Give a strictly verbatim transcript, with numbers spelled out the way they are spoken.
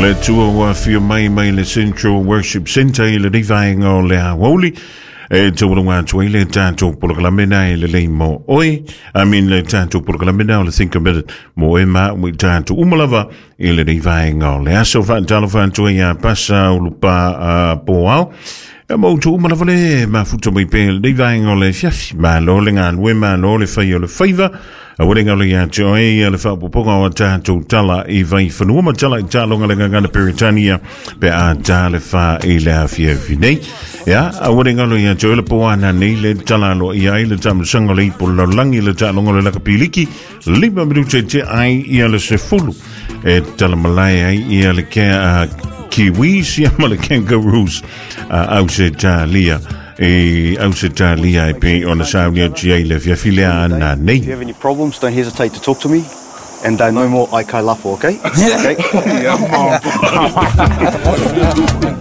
Le tua ua fia mai mai le Central Worship Centre i le rivaenga o le aoauli. E taualunga atu ai le tātou polokalame na e lelei mo oe. I mean le tātou polokalame na o le Think a Minute mo oe ma ui tātou umalava i le rivaenga o le aso whaatalo atu ai a pasa o lupa uh, po au. E mo tu uma lava le mafuta mai pe le vaenga o le fiafi. Malo le galue, malo le whai o le whaiva. A wale ngalo ia te oe ia le whaapopoga o tātou tala i vai whanua ma tala i tālonga le ngangana Peretania pe a tā le wha i le awhia nei. Ia, a wale ngalo ia te oe le poana nei le tala alo ia i le tamusanga le ipo laulangi le tālonga le lakapiliki lima minute te ai ia le sefulu e tala malai ai ia le kea uh, Kiwis ia ma le Kangaroos uh, au se tālia e au se tālia e pe ona saunia tia i le fiafilea ana nei. If you have any problems, don't hesitate to talk to me. And uh, no more Aikai Lafo, okay? Okay?